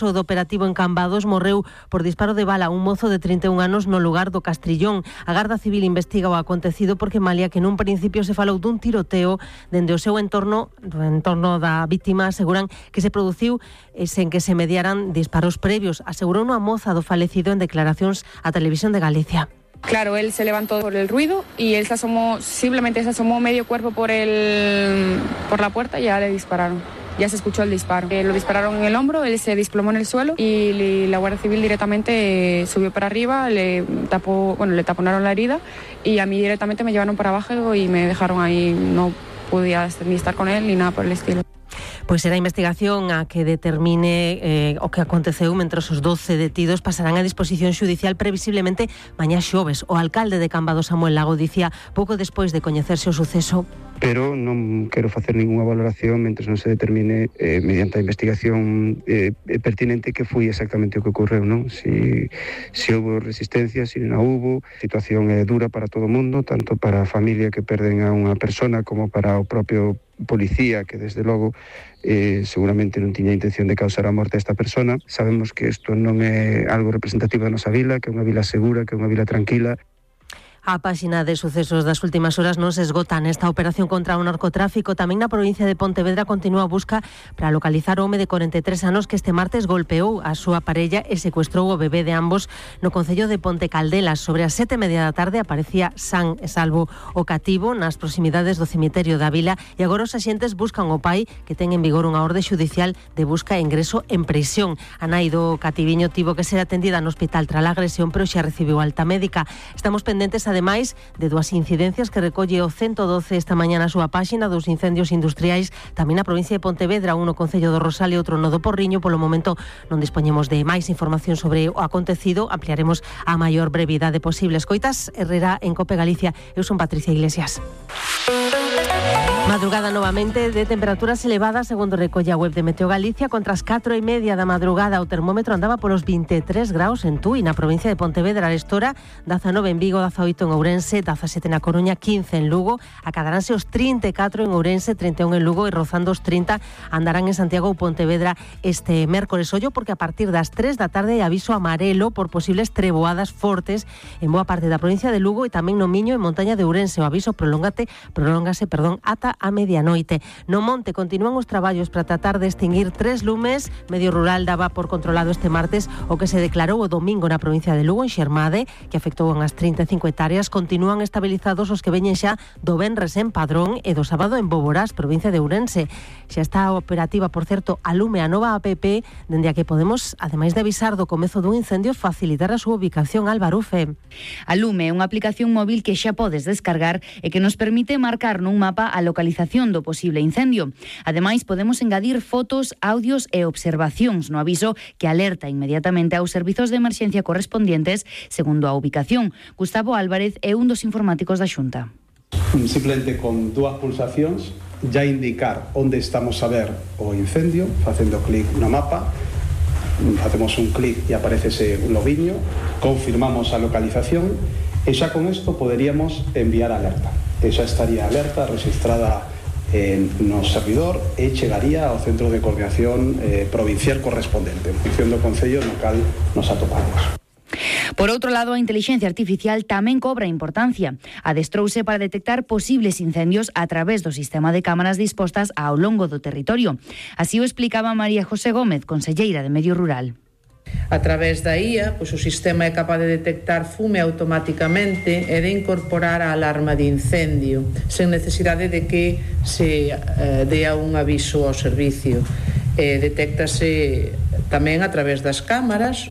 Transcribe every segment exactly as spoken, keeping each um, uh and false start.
O do operativo en Cambados morreu por disparo de bala un mozo de trinta e un anos no lugar do Castrillón. A Garda Civil investiga o acontecido porque malia que nun principio se falou dun tiroteo dende o seu entorno, do entorno da vítima, aseguran que se produciu eh, sen que se mediaran disparos previos. Asegurou unha moza do falecido en declaracións á Televisión de Galicia. Claro, él se levantó por el ruido y él se asomó, simplemente se asomó medio cuerpo por el, por la puerta y ya le dispararon. Ya se escuchó el disparo. Eh, lo dispararon en el hombro, él se desplomó en el suelo y le, la Guardia Civil directamente eh, subió para arriba, le tapó, bueno, le taponaron la herida y a mí directamente me llevaron para abajo y me dejaron ahí. No podía ni estar con él ni nada por el estilo. Pois será a investigación a que determine eh, o que aconteceu mentres os doce detidos pasarán a disposición xudicial previsiblemente mañá xoves. O alcalde de Cambados, Samuel Lago, dicía pouco despois de coñecerse o suceso. Pero non quero facer ninguna valoración mentre non se determine eh, mediante a investigación eh, pertinente que foi exactamente o que ocorreu, non? Si, si houve resistencia, si non houve. A situación é dura para todo o mundo, tanto para a familia que perden a unha persona como para o propio policía que desde logo eh, seguramente non tiña intención de causar a morte a esta persona. Sabemos que isto non é algo representativo da nosa vila, que é unha vila segura, que é unha vila tranquila. A páxina de sucesos das últimas horas non se esgota nesta operación contra o narcotráfico. Tamén na provincia de Pontevedra continúa a busca para localizar o home de corenta e tres anos que este martes golpeou a súa parella e secuestrou o bebé de ambos no concello de Ponte Caldelas. Sobre as sete e media da tarde aparecía san e salvo o cativo nas proximidades do cemiterio da vila e agora os axentes buscan o pai que ten en vigor unha orde xudicial de busca e ingreso en prisión. A nai do cativiño tivo que ser atendida no hospital tras a agresión, pero xa recibiu alta médica. Estamos pendentes a ademais de dúas incidencias que recolle o ciento doce esta mañá na súa páxina, dos incendios industriais tamén na provincia de Pontevedra, un no concello do Rosal e outro no do Porriño. Polo momento non dispoñemos de máis información sobre o acontecido, ampliaremos a maior brevidade posible. Escoitas Herrera en Cope Galicia. Eu son Patricia Iglesias. Madrugada novamente de temperaturas elevadas, segundo recolle a web de Meteo Galicia. Contra as catro e media da madrugada o termómetro andaba polos vinte e tres graus en Tui, na provincia de Pontevedra. A estora, dezanove en Vigo, dezaoito en Ourense, dezasete na Coruña, quince en Lugo. Acadaránse os trinta e catro en Ourense, trinta e un en Lugo e rozando os trinta andarán en Santiago ou Pontevedra este mércores. Ollo porque a partir das tres da tarde hai aviso amarelo por posibles treboadas fortes en boa parte da provincia de Lugo e tamén no Miño e montaña de Ourense. O aviso prolongate, prolongase, perdón, ata a medianoite. No monte continúan os traballos para tratar de extinguir tres lumes. Medio Rural daba por controlado este martes o que se declarou o domingo na provincia de Lugo, en Xermade, que afectou unhas trinta e cinco hectáreas. Continúan estabilizados os que veñen xa do venres en Padrón e do sábado en Boborás, provincia de Ourense. Xa está operativa, por certo, a Lume, a nova app, dende a que podemos, ademais de avisar do comezo dun incendio, facilitar a súa ubicación. Álvaro Fe. A Lume é unha aplicación móvil que xa podes descargar e que nos permite marcar nun mapa a localización do posible incendio. Ademais, podemos engadir fotos, audios e observacións no aviso que alerta inmediatamente aos servizos de emerxencia correspondientes segundo a ubicación. Gustavo Álvarez é un dos informáticos da Xunta. Simplemente con dúas pulsacións ya indicar onde estamos a ver o incendio, facendo clic no mapa, facemos un clic e aparecese un lobiño, confirmamos a localización e xa con isto poderíamos enviar alerta. E xa estaría alerta registrada en no servidor e chegaría ao Centro de Coordinación eh, Provincial correspondente, en función do Concello no cal nos atopamos. Por outro lado, a intelixencia artificial tamén cobra importancia. Adestrouse para detectar posibles incendios a través do sistema de cámaras dispostas ao longo do territorio. Así o explicaba María José Gómez, conselleira de Medio Rural. A través da I A, pois o sistema é capaz de detectar fume automáticamente e de incorporar a alarma de incendio, sen necesidade de que se eh, dea un aviso ao servicio. Eh, detéctase tamén a través das cámaras.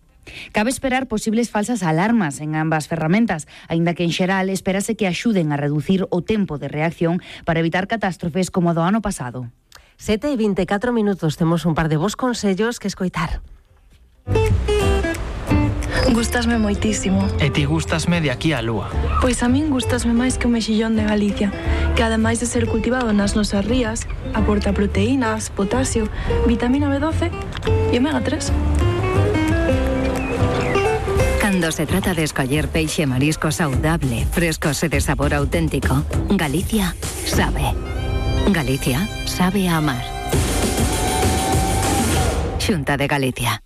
Cabe esperar posibles falsas alarmas en ambas ferramentas, aínda que en xeral espérase que axuden a reducir o tempo de reacción para evitar catástrofes como a do ano pasado. sete e vinte e catro minutos, temos un par de bons consellos que escoitar. Gústasme moitísimo. E ti gústasme de aquí á lúa. Pois a min gústasme máis que o mexillón de Galicia, que ademais de ser cultivado nas nosas rías, aporta proteínas, potasio, vitamina B doce e omega tres. Cando se trata de escoller peixe e marisco saudable, frescos e de sabor auténtico, Galicia sabe. Galicia sabe a amar. Xunta de Galicia.